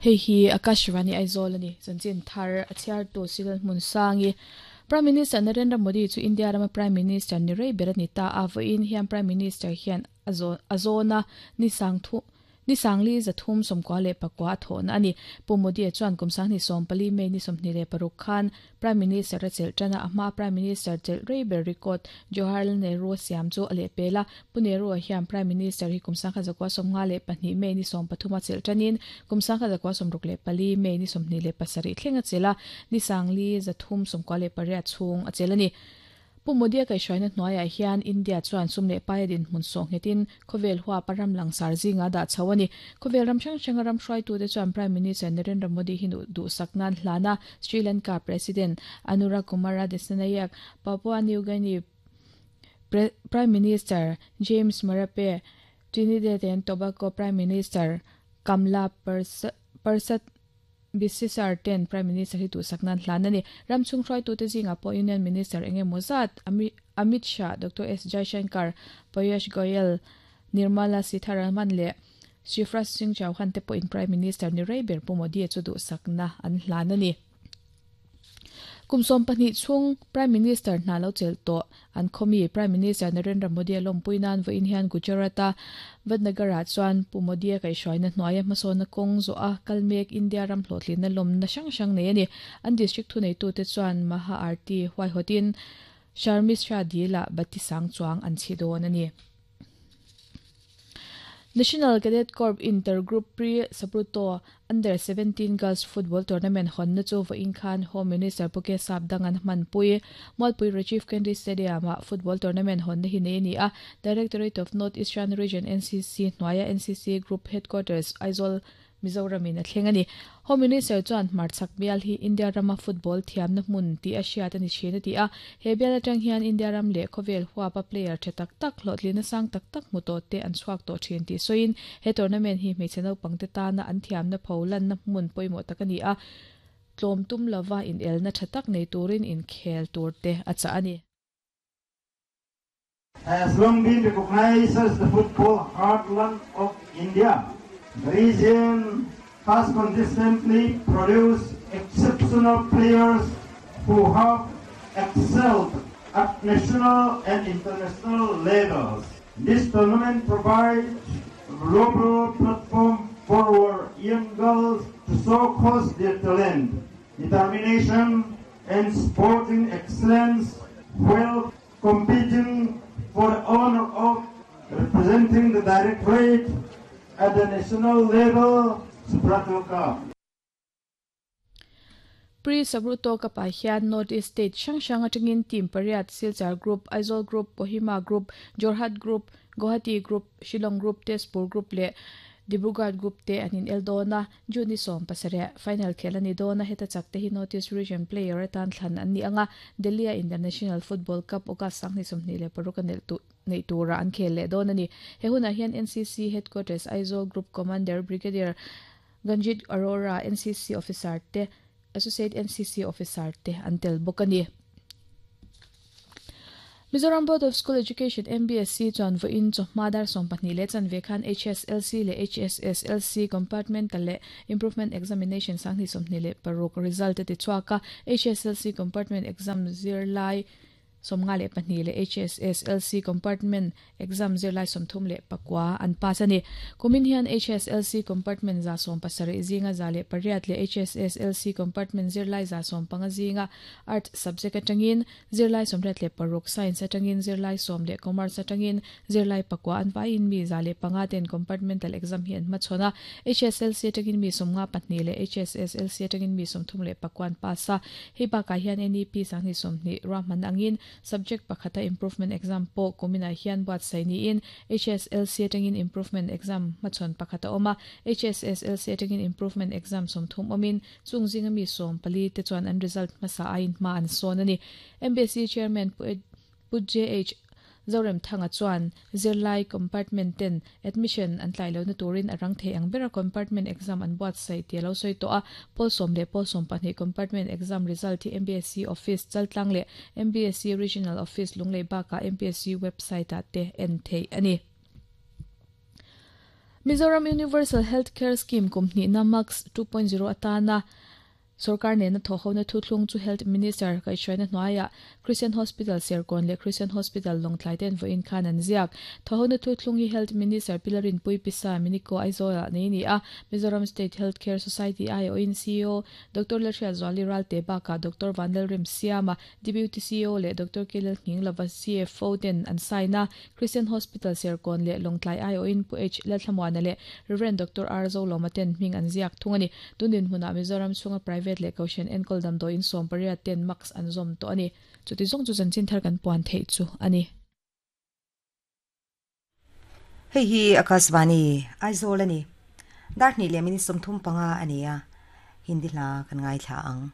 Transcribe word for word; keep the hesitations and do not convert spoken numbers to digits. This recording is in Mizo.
Hei hi Akashvani Aizawl ani chanchin thar a chhiar tu Silal hmun sangi Prime Minister Narendra Modi chu India rama Prime Minister ni rei ber ani ta a vawiin hian Prime Minister hian a zawna ni sang thu ni sangli zathum sawmkua leh pakua a thawhna ani. Pu Modi chuan kum sanghnih sawm pali May ni sawmhnih leh paruk khan Prime Minister a chelh tana a hma Prime Minister chelh rei ber record Jawaharlal Nehru a siam chu a leh pel a. Pu Nehru ah hian Prime Minister hi kum sangkhat zakua sawmnga leh pahnih May ni sawm pathum a chelh tanin kum sangkhat zakua sawmruk leh pali May ni sawmhnih leh pasarih thleng a chelh a, ni sangli zathum sawmkua leh pariat chhung a chelh ani. Pu Modi a kaihhruaina hnuaiah hian India chuan sum leh paia dinhmun sawh nghetin khawvel huap a ram langsar zinga dah chho a ni. Khawvel ram hrang hranga ram hruaitute chuan Prime Minister Narendra Modi hi duhsak nan hlan a, Sri Lanka President Anura Kumara Dissanayake, Papua New Guinea Prime Minister James Marape, Trinidad and Tobago Prime Minister Kamla Persad Bissessar ten Prime Minister hi duhsak nan hlan a ni. Ram chhung hruaitute zingah pawh Union Minister eng emaw zat Amit Shah, Doctor S Jaishankar, Piyush Goyal, Nirmala Sitharaman leh Shivraj Singh Chauhan te pawhin Prime Minister ni rei ber Pu Modi chu duhsakna an hlan a ni. Kum sawm pahnih chhung Prime Minister hna lo chelh tawh an khawmi Prime Minister Narendra Modi a lawmpui nan vawiin hian Gujarat-a Vadnagar-ah chuan Pu Modi a kaihhruaina hnuaia hmasawnna kawng zawh a kal mek India ram hlawhtlinna lawmna hrang hrang nei a ni. An district thuneitute chuan Maha Aarti huaihawtin Sharmishtha Dil-ah bati sang chuang an chhi dawn a ni. National Cadet Corps Intergroup Pre-Sabruto Under seventeen Girls Football Tournament hawnna chu vawiin khan Home Minister Pu K Sapdang an hmanpui. Mualpui Rajiv Gandhi Stadium-ah football tournament hawnna hi nei a ni a. Directorate of North Eastern Region N C C hnuaia N C C Group Headquarters Aizawl Mizoram in a thleng a ni. Home Minister chuan hmarchhak bial hi India rama football thiamna hmun tih a hriat a ni thin a ti a. He bial atang hian India ram leh khawvel huapa player tha tak tak hlawhtlina sang tak tak hmu tawh te an chhuak tawh thin tih sawiin he tournament hi hmeichhe naupangte tana an thiamna pho lanna hmun pawimawh tak a ni a. Tlawm tum lova inelna tha tak nei turin inkhel tur te a chah a ni. Has long been recognized as the football heartland of India. The region has consistently produced exceptional players who have excelled at national and international levels. This tournament provides a global platform for our young girls to showcase their talent, determination, and sporting excellence while competing for the honor of representing the Directorate at the national level Subroto Cup. Pre-Sabruto Cup ah hian North East State hrang hrang atangin team pariat Silchar Group, Aizawl Group, Kohima Group, Jorhat Group, Guwahati Group, Shillong Group, Tezpur Group leh Dibrugarh Group te an in el dawn a. June ni sawm pasarih final khel a ni dawn a. Heta chak te hi North East Region player atan thlan an ni anga. Delhi a International Football Cup August sanghnih sawmhnih leh paruk a nelh tu nei tura an khel leh dawn a ni. He hunah hian N C C Headquarters Aizawl Group Commander Brigadier Ganjit Arora, N C C Officer te, Associate N C C Officer te an tel bawk a ni. Mizoram Board of School Education M B S C chuan vawiin chawhma dar sawm pahnih leh chanve khan H S L C leh H S S L C Compartmental leh Improvement Examination sanghnih sawmhnih leh paruk result a ti chhuak a. H S L C Compartment Exam zirlai sawmnga leh pahnih leh H S S L C Compartment Exam zirlai sawmthum leh pakua an pass a ni. Kumin hian H S L C Compartment za sawm pasarih zinga za leh pariat leh H S S L C Compartment zirlai za sawm panga zinga Arts subject atangin zirlai sawmriat leh paruk, Science atangin zirlai sawm leh Commerce atangin zirlai pakua an vaiin mi za leh panga ten Compartmental Exam hi an hmachhawn a. H S L C atangin mi sawmnga pahnih leh H S S L C atangin mi sawmthum leh pakua an pass a. Hei bakah hian N E P sanghnih sawmhnih ruahman angin subject pakhata improvement exam pawh kuminah hian buatsaih niin H S L C atangin improvement exam hmachhawn pakhata awm a. H S S L C atangin improvement exam sawmthum awmin chung zinga mi sawm pali te chuan an result hmasa aiin hma an sawn a ni. M B S C Chairman Pu J H Zorem Thanga chuan zirlai compartment ten admission an tlai lohna turin a rang thei ang bera compartment exam an buatsaih tih a lo sawi tawh a. Pawl sawm leh pawl sawm pahnih compartment exam result hi M B S C office Chaltlang leh M B S C Regional Office Lunglei bakah M B S C website ah te en theih a ni. Mizoram Universal Healthcare Scheme kum hnihna MUHCS two point zero atana Sorkar nena thawhhona thuthlung chu Health Minister kaihhruaina hnuaiah Christian Hospital Serkawn leh Christian Hospital Lawngtlai ten vawiin khan an ziak. Thawhhona thuthlung hi Health Minister Pilarin Puipisa Miniko Aizawlah nei a ni a, Mizoram State Health Care Society aiawhin C E O Doctor Lalhriatzuali Ralte bakah Doctor Vanlalrem Siama, Deputy C E O leh Doctor Kelel Nghinglova C F O ten an sign a, Christian Hospital Serkawn leh Lawngtlai aiawhin Pu H Lalthlamuana leh Reverend Doctor R Zolawma ten hming an ziak thung a ni. Tunin hmunah Mizoram chhunga private leh Kohhran enkawl damdawiin sawm pariat ten MUHCS an zawm tawh a ni. Chuti zawng chu chanchin thar kan puan theih chu a ni. Hei hi Akashvani, Aizawl a ni. Dar hnih leh minute sawmthum panga a ni a, Hindi hla kan ngaithla ang.